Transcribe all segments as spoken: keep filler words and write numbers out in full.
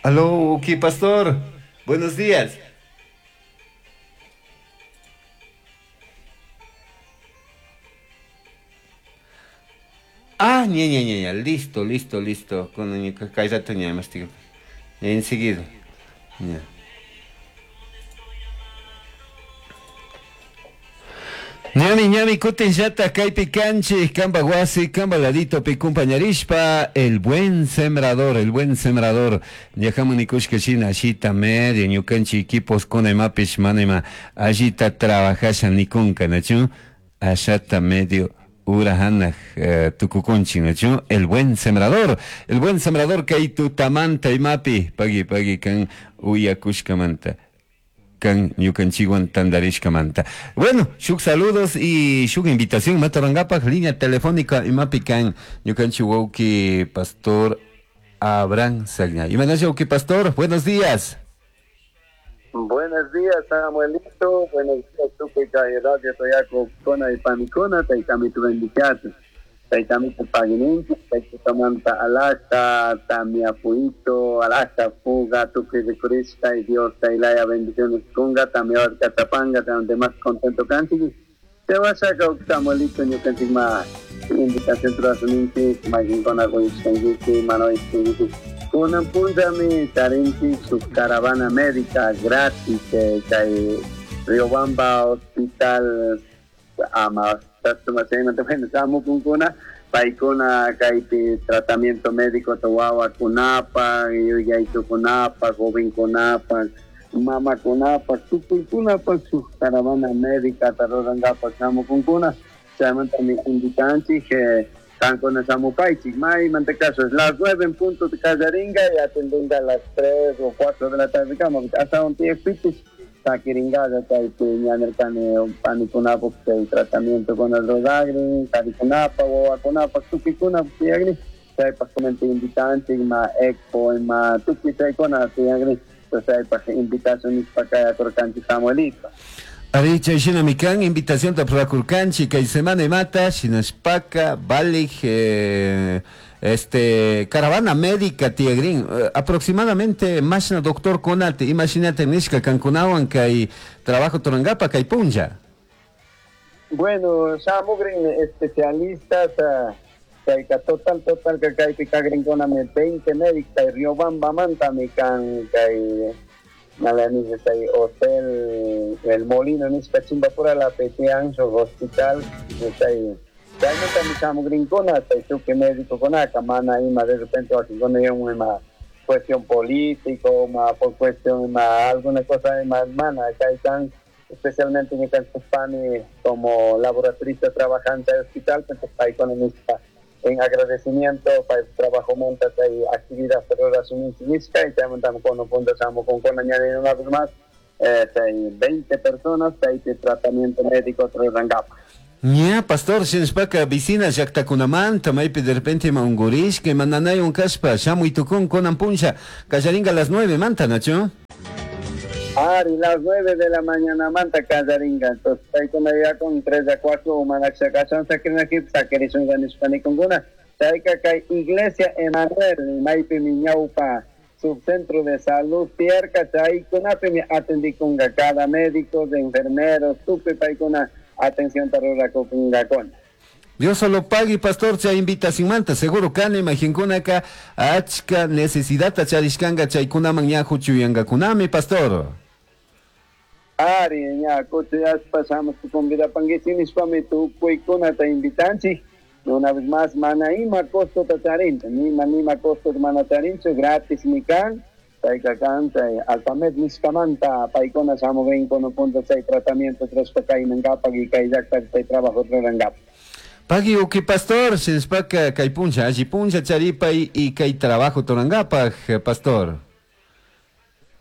Aló, ok, pastor. Buenos días. Ah, ña, ña, ña, ña, listo, listo, listo. Con cállate, ña, enseguida. Ña. Ñami, ñami, kutin llata, kaypi kanchik, kamba wasi, kamba ladito pi kumpañarishpa, el buen sembrador, el buen sembrador. Ñajaman nikushka shina, ashita medio, ñukanchik equipos kuna imapish mana ima allita trabajasha nikunka, nachu? Ashata medio ura hanaj eh, tukukunchik, nachu? El buen sembrador, el buen sembrador kay tutamanta imapi, pagui, pagui, kan uyakushkamanta. Kan ñukanchikwan tandarishkamanta. Bueno, shuk saludos y shuk invitación matarangapaj línea telefónica imapi kan ñukanchik wawki pastor Abraham Sagña. Imanasha wawki pastor, buenos días. Buenos días, Samuelito. Buenos días, tukuy kay Radio Toyaco, Kona y Panicona, taytami tu bendicato. Taytami tu pagininchi, taytamanta alasta, tamiapuito, alasta, fuga, tukuy rikurishka y Dios taylaya bendiciones kunga, tamia tapanga, también más contento kanchik. Te vas a sacar Samuelito, ñukanchik ma invitación turasuninchik, maykinkuna quyishkanchik, manoishkanchik. Kunan punllami tarinchik su caravana médica gratis, eh, kay Riobamba Hospital ama samukunkuna paykuna kaypi tratamiento médico wawakunapa, yuyaytukunapa, jovenkunapa, mamakunapa, tukuykunapa su caravana médica rurankapak samukunkuna. Chaymantami invitanchik eh, kankuna samupaychik maymanta caso es las nueve en punto de Callaringa y atendenga a las tres o cuatro de la tarde hasta un tiempito saquiringaya chaypi ñanirkani panikunapuk chay tratamiento con el rodagri, karikunapa, wawakunapa, tukuykuna tiyagri, chaypak comenta invitanchik ma expo ma tukuy chaykuna tiyagri, entonces chaypak invitación nishpa kayakurkanchik Samuelito. Ari, chay shinami kan invitación tapurakurkanchik kay semana imata shinashpaka valij eh, este caravana médica tiagrin eh, aproximadamente mashna doctor kunate imagínate nishka kankunawan kay trabajo turangapa kay punlla. Bueno, shamugrin especialistas uh, chayka total total ka kaypi kagrinkunami veinte médicos kay Riobamba mantami kan kay nalani chay hotel El Molino nishka Chimbapura la Petian hospital chay chaymantami shamugrinkuna chay tukuy médico kunaka mana ima de repente wakinkuna ima cuestión político ma por cuestión ima alguna cosa ima mana chay kan especialmente ñukanchikpani como laboratorista trabajante del hospital entonces paykuna nishpa en agradecimiento para el trabajo monta y actividad nishka y chaymantami kunan punta shamukunkuna ñanin una vez más eh, veinte personas chaypi tratamiento médico rurankapa. Ña, pastor, shinashpaka vicina llaktakunamanta maypi de repente ima unkurishka ima nanaywan kashpa shamuy tukun kunan punlla kallaringa a las nueve manta, nachu? Ari, las nueve de la mañana manta kallaringa, entonces paykuna ya con tres a cuatro manakshakachun sakirinakip sakirishunka nishpa nikunkuna. Chayka kay Iglesia Emanuel maypimi ñawpa subcentro de salud tierka chaykunapimi atendikunka cada médico, de enfermeros, tukuy paykuna atención tarurakunkakuna. Dios solo pague, pastor, chay invitación manta, seguro kani imaginkunaka achka necesidad charishkanga chaykunaman ña huchuyankakunami, pastor. Ari, ña kuchuyashpa shamushpa convidapankichik nishpami tukuykunata invitanchik. Una vez más, mana ima costo tacharinchu, nima nima costo mana charinchu, gratis mi kan, chayka kan, chay alfamed nishkamanta paykuna shamugrinkuna punta chay tratamiento trashpa kaymankapak y kay llakta chay trabajo rurankapak. Pagui uki pastor, shinashpaka kay punlla, alli punlla charipay y kay trabajo turankapak, pastor.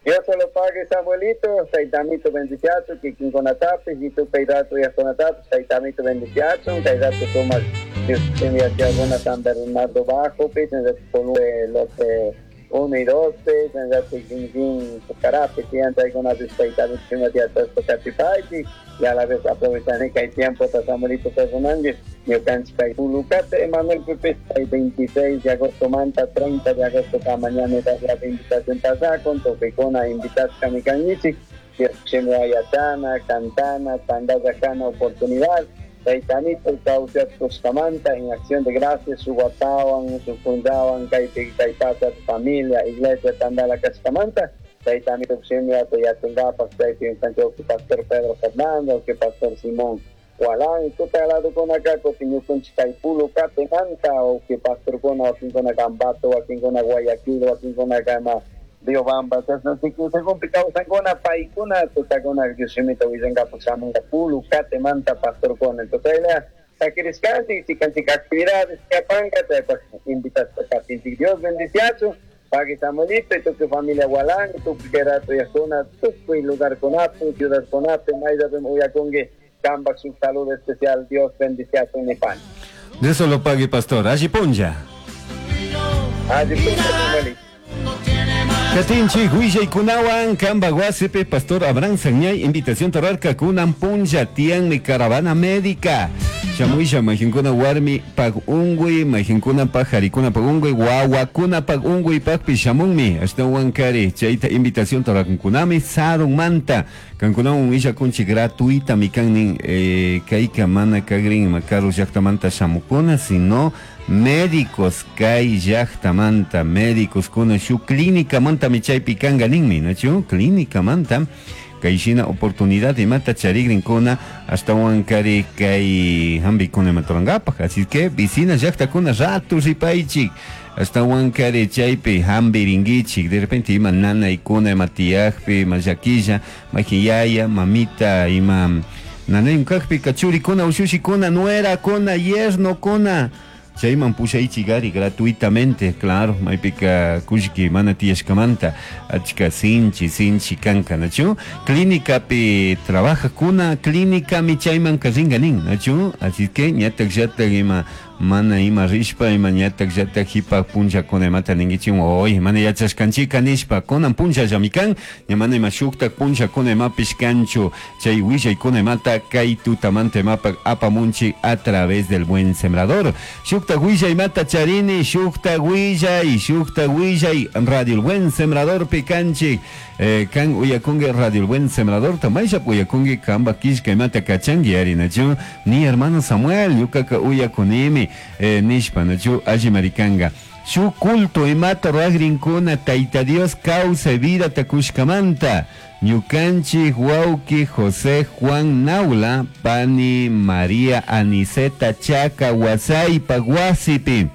Dios se lo pague, Samuelito, taytamito bendiciacho, kikinkunatapis, y tu peidato yakunatapis, taytamito bendiciacho, taydato sumak, Dios tenía que alguna San Bernardo Bajo, pis, en el Lote Uno y doce, chin Pucarapi, tiyan chaykunapish tayta Dios yachashpa kachipaychik y a la vez aprovechani kay tiempota Samuelito personanchik ñukanchik kay Pulucate Emanuel Pipis kay veintiséis de agosto manta treinta de agosto ka mañana la invitación pasakun tukuykuna invitashkami kankichik Dios yachana, cantana, tandallakana oportunidad Taytanito kawsaskuskamanta en acción de gracias su watawan, su punllawan kaypi kay pacha familia, iglesia tandala kashkamanta Taytanito shimiyata yachankapak chaypi ñukanchik pastor Pedro Fernando, que pastor Simón Walán y tuta ladokunaka kutin ñukanchik kay Pulucatemanta o que pastorkuna wakinkuna Ambato, wakinkuna Guayaquil, wakinkuna kama Riobamba, según kawsankuna paykuna tutakuna Dios shimita willankapak shamunka Pulucatemanta pastorkuna. Entonces saquiriskanchik chikanchik actividades kapanka chaypak invitashpa katinchik Dios bendiciachu pagui Samuelito y tukuy familia Walán, tukuy Gerato yakuna, tukuy lugarkunapi, ciudadkunapi, mayllapim uyakunki kampak shuk saludo especial, Dios bendiciachu nipan. De eso lo pague, pastor. Alli punlla. Alli punlla, Samuelito. Katinchik willaykunawan kamba wasipi pastor Abraham Sañay invitación torarka kunan punlla tianmi caravana médica. Shamuysha mayqinkuna warmi pag unguy, mayqinkuna pag harikuna pag unguy, wawakuna pag unguy pagpi shamunmi. Ashtawan kari chayta invitación torarkunami sarunmanta. Kankunawan willakunchik gratuita mikannin eh, kayka mana kagrin makaru llaqtamanta shamukuna, sino médicos kay llaqtamanta, médicos kuna shu clínica manta michaypi kanga ninmi, nachu? Clínica manta kay shina oportunidad imata charigrinkuna ashtawan kari kay hambikuna imatarankapak. Así que vicina llaqtakuna ratu ripaychik ashtawan kari chaypi hambirinkichik de repente ima nanaykuna ima tiyakpi ima llakilla mayqin mamita ima nanaywan kaqpika churikuna ushushikuna nuerakuna yernokuna chayman pushaychik ari gratuitamente, claro, maypika kullki mana tiyashkamanta achka sinchi sinchi kanka, nachu? Clínicapi trabajakuna clínicami chayman rinka nin, nachu? Así que ñatak llatak ima mana ima rishpa ima ñatak llatak hipak punllakuna imata ninkichik oy mana yachashkanchika nishpa kunan punllallami kan ña mana ima shuktak punllakuna imapish kanchu chay willaykuna imata kay tutamanta imapak apamunchik a través del buen sembrador. Shuktak willay imata charini, shuktak willay, shuktak willay Radio El Buen Sembrador pikanchik eh, kan uyakunki Radio El Buen Sembrador tamayllap uyakunki kamba killka imata kachanki ari nachu ni hermano Samuel ñukaka uyakunimi eh, nishpa nachu alli marikanga shu culto imata ruagrinkuna Tayta Dios kawsay vida takushkamanta ñukanchik wawki José Juan Naula pani María Aniceta Chaca Wasaypa wasipi.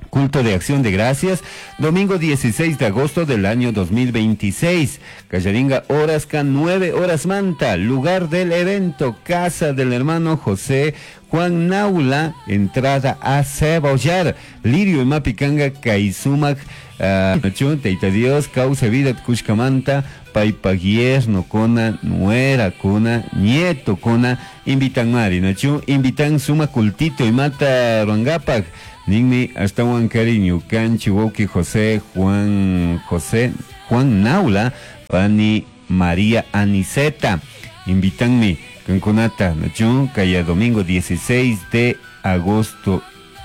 Culto de Acción de Gracias, domingo dieciséis de agosto del año dos mil veintiséis. Callaringa, horas can nueve horas manta, lugar del evento, casa del hermano José Juan Naula, entrada a Cebollar, Lirio y Mapicanga, Kaisumac, uh, Teita Dios, causa vida, Cushcamanta, Paipaguier, Nocona, Nuera, Cona, Nieto, Cona, invitan Mari, Nachu, invitan Suma Cultito y Mata Ruangapac, Ninmi, hasta Juan Cariño, Canchi, Woki, José, Juan, José, Juan Naula, Pani, María Aniceta, invitanme, Cancunata, Nachu, Calla domingo dieciséis de agosto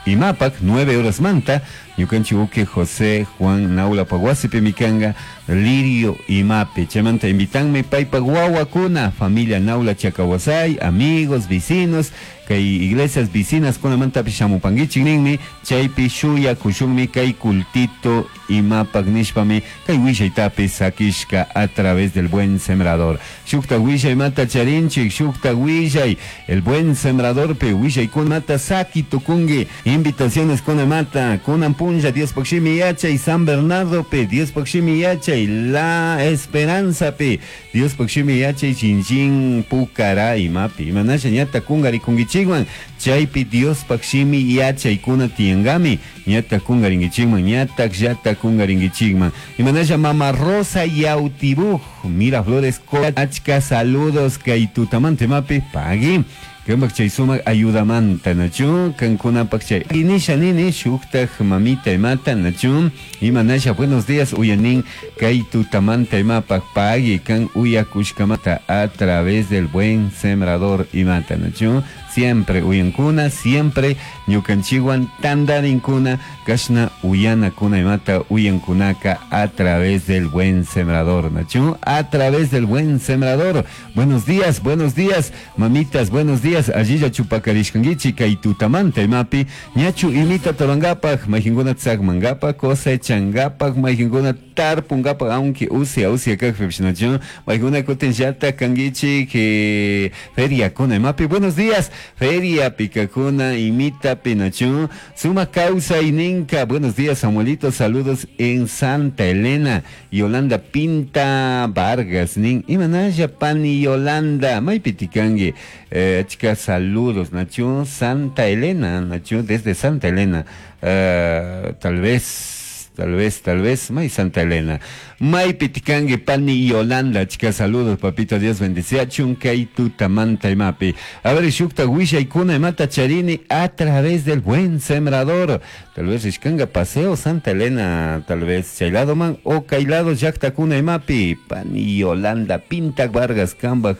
Imapac, nueve horas manta, ñukanchik uke José Juan Naula Paguasipe Mikanga, Lirio Imape, chamanta invitanme paypa guaguacuna, familia Naula Chacahuasay, amigos, vecinos, kay iglesias vecinas kunamanta shamupanguichik ninmi, chaypi shuya kushunmi kay cultito Imapac nishpami, kay willaytapi sakishka a través del buen sembrador. Shukta willay mata charinchik, shukta willay, el buen sembrador pe willay kunmata saki tukungi, invitaciones kunamata, kunan punlla, Dios pakshimi yachay, San Bernardo pe, Dios pakshimi yachay, La Esperanza pe, Dios pakshimi yachay, chinchin pucara imapi, imanasha ñata kungari kungichikwan, chaypi Dios pakshimi yachay kuna tiangami, ñata kungaringichikman, ñata llata kungaringichikman. Imanasha Mama Rosa Yautibuj, Miraflores, Achka, saludos, kay tutamante mapi, pagui. Kambak chay sumak ayudamanta nachu kankunapak chay inisha nini shuktak mamita imata nachu imanasha buenos días uyanin kay tutamanta imapak pagui kan uyakushkamata a través del buen sembrador imata nachu siempre uyankuna siempre ñukanchiwan tandarinkuna kashna uyanakuna imata uyankunaka a través del buen sembrador nachu a través del buen sembrador. Buenos días, buenos días mamitas, buenos días allilla chupakarishkankichik kay tutamanta imapi ñachu imita tarangapak mayjinkuna tzakmangapak cosechangapak mayjinkuna tarpungapak aunque usia usia kakpipish nachu maykuna kutin llata kankichik eh, feriakuna imapi buenos días feria pikakuna imitapi nachu suma kawsayninka buenos días Samuelito, saludos en Santa Elena. Yolanda Pinta Vargas nin imanalla pani Yolanda maypi tikanki eh, achka saludos nachu Santa Elena nachu desde Santa Elena eh, tal vez Tal vez, tal vez, may Santa Elena. May pitikangi pani Yolanda, chica, saludos, papito, Dios bendice. Chunkay tutamanta imapi. A ver, shukta wishaykuna imata charini a través del buen sembrador. Tal vez ishkanga paseo Santa Elena, tal vez chaylado man o kaylado llaqtakuna imapi. Pani Yolanda, Pinta Vargas, Kambaj.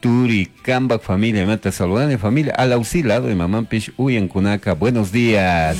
Turi, Kambak familia, imata saludani familia, al auxilado y mamampish uyankunaka. Buenos días.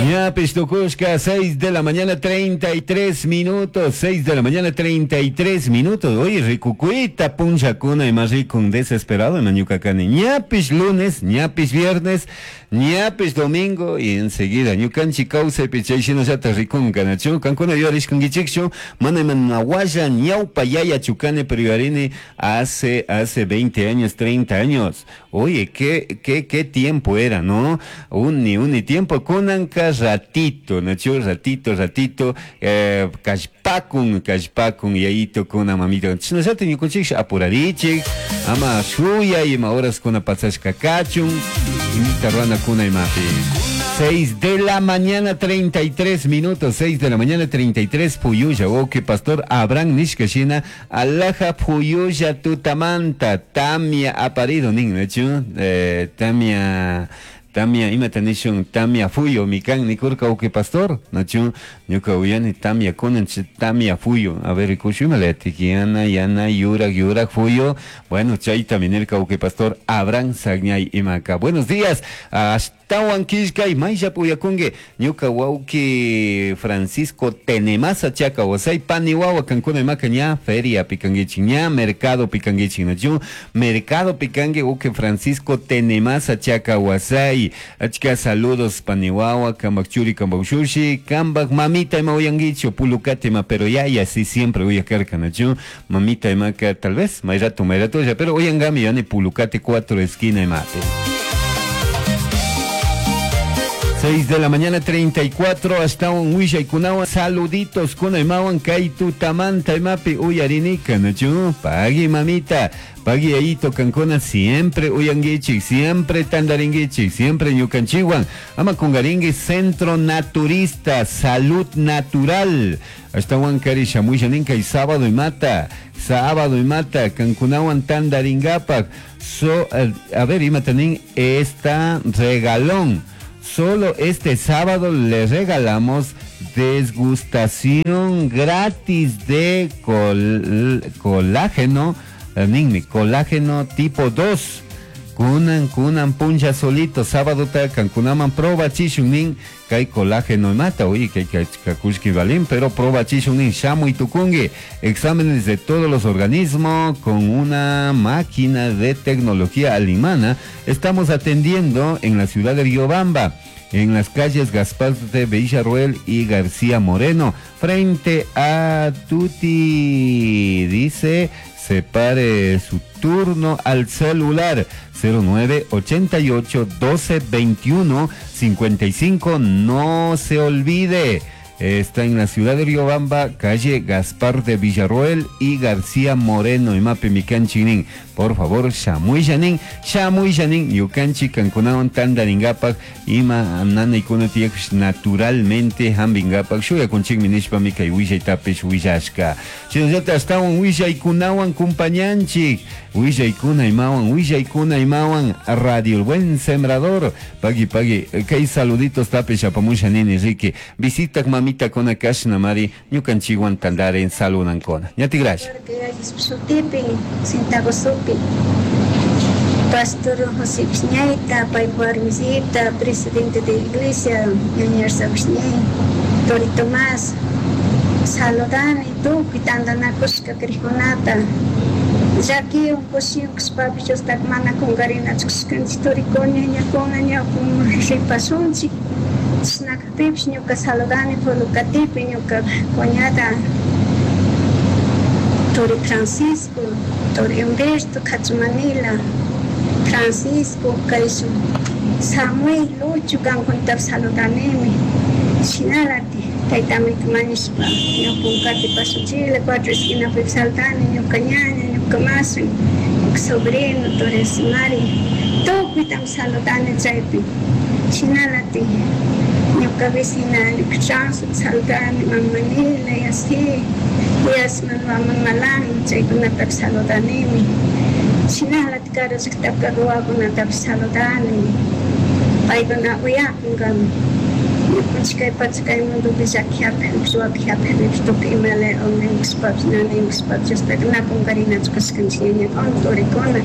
Ñapish tukushka, seis de la mañana treinta y tres minutos, seis de la mañana treinta y tres minutos. Oye, rikukuita punchakuna y más rico un desesperado en Ñucacani. Ñapish lunes, ñapish viernes, ñapish domingo y enseguida ñukanchi kawsaypi chay shinallata rikunka nachu kankuna yuyarishkankichikchu mana imanahualla ñawpa yaya chukane pero yuyarini hace hace veinte años, treinta años. Oye, qué qué qué tiempo era, ¿no? Uni uni tiempo kunanka ratito, nachu ratito ratito eh, kallpakun kallpakun yayito kuna mamito. Shinallata ñukanchik apurarichik ama shuya ima horas kuna pasashka kachun imita ruana kuna imapi. seis de la mañana treinta y tres minutos, seis de la mañana treinta y tres, Puyulla, oke pastor Abraham nishkashina, alaja Puyulla tutamanta, tamia aparido nin, nachu, eh, tamia Tamia imata nishun tamia fuyo mikan nikurka uke pastor nachu ñuka uyani tamia kunan tamia fuyo a ver rikushu imalati yana yana yurak yurak fuyo bueno chayta minirka uke pastor Abraham Sagñay imaka. Buenos días ashtawan killkay maylla puyakunki ñuka wawki Francisco Tenemasa chaka wasay pani wawa kankuna imaka ña feria pikankichik ña mercado pikankichik nachu mercado pikanki uke Francisco Tenemasa chaka wasay. Achka saludos paniwawa, kambak churi, kambak shushi, kambak mamita ima uyanguicho, pulukate ima, pero ya ya sí siempre uyakarka nachu, mamita imaka tal vez, mayrato mayrato ya, pero uyangami yani pulukate cuatro esquina imate. seis de la mañana treinta y cuatro hasta un wishay kunawan saluditos kuna imawan kay tutamanta imapi uyarinika nachu pagui mamita pagui ayito kankuna siempre uyanguichik siempre tandaringuichik siempre ñukanchiwan ama kungaringui Centro Naturista Salud Natural hasta huancari shamusha ninka y sábado y mata sábado y mata kankunawan tandaringapak so a ver imatanin esta regalón. Solo este sábado le regalamos desgustación gratis de col, colágeno, eh, colágeno tipo dos. Kunan, kunan, puncha solito, sábado ta, kankunaman proba chishun kay colágeno mata, oye, que kakushki balín, pero proba chishun shamu y tukungi. Exámenes de todos los organismos con una máquina de tecnología alemana. Estamos atendiendo en la ciudad de Riobamba, en las calles Gaspar de Villarroel y García Moreno, frente a Tuti, dice, separe su turno al celular cero nueve ochenta y ocho doce veintiuno cincuenta y cinco, no se olvide. Eh, está en la ciudad de Riobamba, calle Gaspar de Villarroel y García Moreno, imapi mi kanchik nin. Por favor, shamuilla nin, shamuilla nin, ñukanchik kankunawan tandaringapak, ima nanaykuna tiyakpish naturalmente hambingapak, shuyakunchikmi nishpami kay willaytapish willashka. Shinallata ashtawan willaykunawan kumpañanchik, willaykuna imawan, willaykuna imawan, Radio El Buen Sembrador, pagui pagui, kay saluditos tapish apamusha nini riki, visitak mamita kona kashna mari, ñukanchikwan tandaren saludankona. Ñati gracias. Pastor José Piñaita, Pai Warmisita, presidente de iglesia, Ñañar Sabisñay, Tori Tomás, saludani tukuy tantanakushka kriqkunata. Llakiwan kushiwan kashpapish Diostaqa mana qunqarinachu kashkanchik turikuna ñañakuna ñawpaman ripasunchik. Chashnakpipish ñuka saludani Pulukatipi ñuka cuñada Turi Francisco, Turi Humberto, Cachumanila, Francisco, kayshun Samuel, Lucho, kankunatapish saludanimi. Shinalati, taytamita mañashpa ñawpa pasunchikla cuatro esquinapi saludani ñuka ñaña, ñuka masu, ñuka sobrino, Turi Mari, tukuytami saludani chaypi. Shinalati, ñuka vecina, ñuka chanzo saludani, mama Nila, y así, Yasman, mama Malan, chaykunatapish saludanimi. Shinalati karu llaqtapi wawakunatapish saludani, paykuna uyakunkami. Ñukanchik kay pacha kay mundopi llaki hapikpish waki hapikpish tukuy imala unquykushpapish nanaykushpapish Diostaqa na qunqarinachu kashkanchik ñañakuna turikuna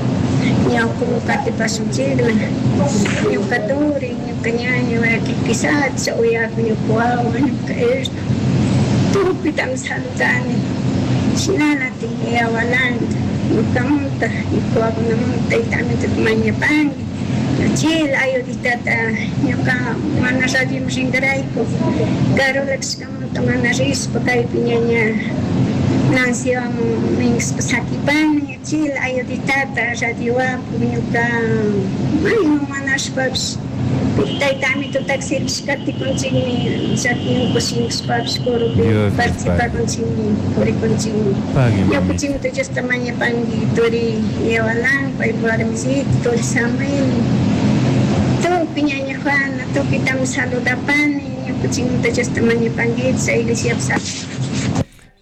ñawpaman qatipasunchikla. Ñuka turi, ñuka ñaña wakin uyakun ñuka wawa, ñuka erna, tukuytami saludani. Shinalati yawalanta ñukamunta, ñuka wawakunamanta tayta mañapanki. Chila ayuditata ñuka mana radioman rinkarayku Carola kashkamanta mana rishpa kaypi ñaña Nancywan minkashpa sakipani chila ayuditata radiowapu ñuka mayman manashpapish tayta amitutaka servishpa katikunchikmi llakiwan kushiwan coropí participakunchikmi purikunchikmi. Ñukanchikmanta Diosta mañapanki turi Yawalan, paypa warmisita, turi Samuel, tukuy ñaña Juana, tukuytami saludapani, ñukanchikmanta Diosta mañapankichik iglesiapi.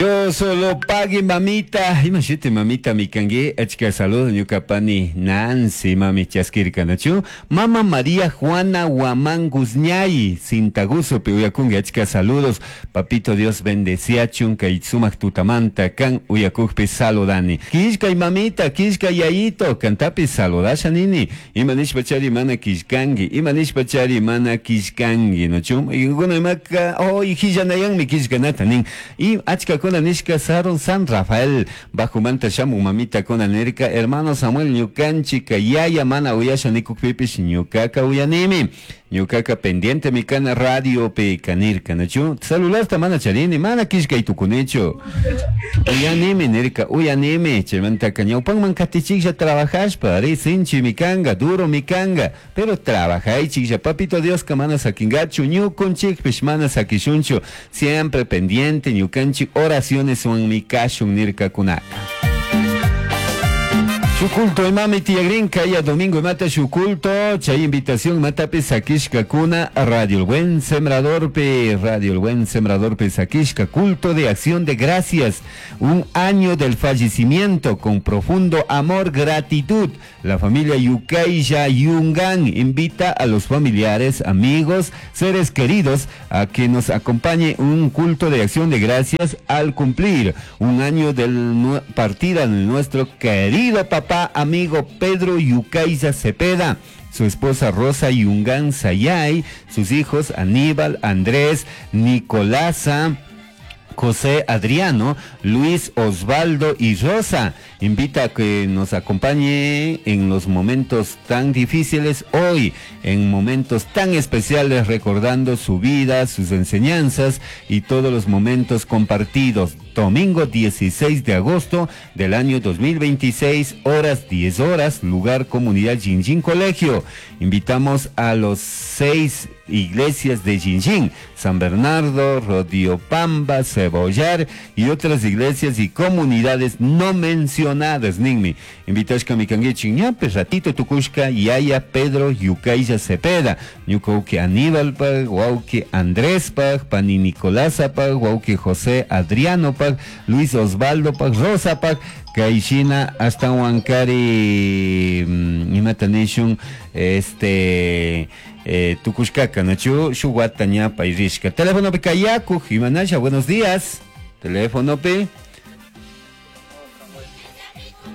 Yo solo pague mamita, imagínate mamita mi kangue, achka saludo ñuka pani Nancy mami chaskirka nachu, mama María Juana Guamán Guzñay, Sintaguso pe uyakungi achka saludos, papito Dios bendeciachun kay sumak tutamanta kan uyakukpi saludani. Kishka y mamita, kishka yayito, kantapi saludasha nini, imanishpa chari mana kishkangi, imanishpa chari mana kishkangi, nachu, y imaka, oh, y hillanayanmi kishkanata nin, y achka kuna nishka Saron San Rafael bajo manta shamu mamita kuna nirka hermano Samuel ñukanchika yaya mana uyasha nikukpipish ñukaka uyanimi ñukaka pendiente mi kana radio pe kanirka nachu celular ta mana charini mana kishkay tukunichu uyanimi nirka uyanimi chaymantaka ñawpanman katichiklla trabajashpa ari sinchi mikanga duro mikanga pero trabajaychiklla papito Dioska mana sakingachu ñukunchikpish mana sakishunchu siempre pendiente ñukanchik oraciones wan mikashun nirkakunaka. Su culto imami tiyagrin kaya domingo imata su culto chay invitación matapi sakishka kuna Radio El Buen Sembrador pe Radio El Buen Sembrador pe sakishka culto de acción de gracias, un año del fallecimiento con profundo amor, gratitud. La familia Yucailla Yungan invita a los familiares, amigos, seres queridos a que nos acompañe un culto de acción de gracias al cumplir un año del partida de nuestro querido papá amigo Pedro Yucaiza Cepeda, su esposa Rosa Yungán Sayay, sus hijos Aníbal, Andrés, Nicolasa, José Adriano, Luis Osvaldo y Rosa. Invita a que nos acompañe en los momentos tan difíciles hoy, en momentos tan especiales, recordando su vida, sus enseñanzas y todos los momentos compartidos. Domingo dieciséis de agosto del año dos mil veintiséis, horas diez horas, lugar comunidad Jinjin Colegio. Invitamos a los seis iglesias de Jinjin, San Bernardo, Rodiopamba, Cebollar y otras iglesias y comunidades no mencionadas. Ninmi, invitashka canguichik ñapish ratito tukushka yaya Pedro Yucailla Cepeda, ñuka wawki Aníbalpaj, wawki Andréspaj, pani Nicolásapaj, wawki José Adrianopaj, Luis Osvaldopaj, Rosapaj, kayshina ashtahuankari mm, imata nishun este eh, tukushkaka nachu shuk wata ña pay rishka. Telefonopi kayakuj imanasha, buenos días. Telefonopi.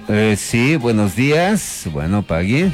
Eh, sí, buenos días. Bueno, pagui.